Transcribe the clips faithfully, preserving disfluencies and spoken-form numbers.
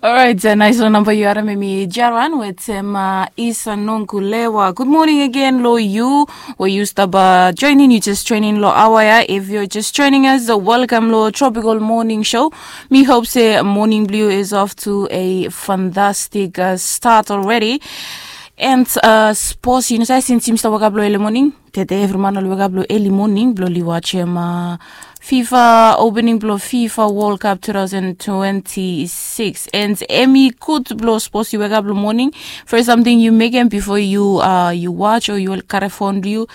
Orait, nais long namba yu harim em i Jaran wetem Isa Nonkulewa. Good morning again lo yu. We yu stap join in, yu just join in lo awa ya. If you're just joining us, welcome lo Tropical Morning Show. Mi hope se morning blue is off to a fantastic uh, start already. And uh, spos, yu no save since yumi stap wake up lo early morning. Tede evri man oli wake up lo early morning blo oli wajem uh, FIFA opening blo FIFA World Cup two thousand twenty-six. And em i gud blo spos yu wake up lo morning. First something yu mekem before yu uh, yu watch or yu kare phone blo yu.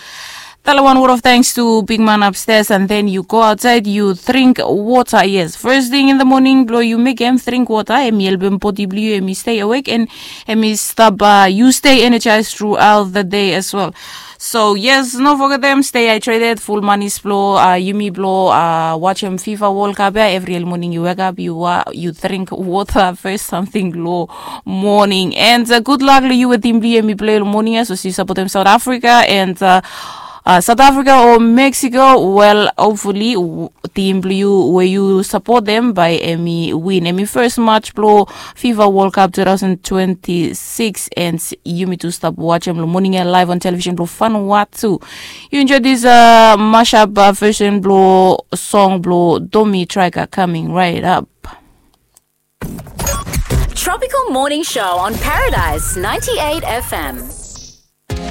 Tell one word of thanks to big man upstairs and then you go outside, you drink water. Yes, first thing in the morning blo you make em drink water, em help em body blo you, em stay awake and em stop uh, you stay energized throughout the day as well. So yes, no forget them, stay hydrated, full manis blo uh, yumi blo uh, watch em FIFA World Cup. Yeah, every morning you wake up, you uh, you drink water first something lo morning. And uh, good luck to you with team blo yumi play morning as we support them South Africa and uh, uh, South Africa or Mexico, well, hopefully, team blue where you support them by Emmy win. Emmy first match blo FIFA World Cup two thousand twenty-six and yumi to stop watch em morning live on television blo Vanuatu. You enjoy this uh, mashup uh, version blo song blo Domi Trika coming right up. Tropical Morning Show on Paradise ninety-eight F M.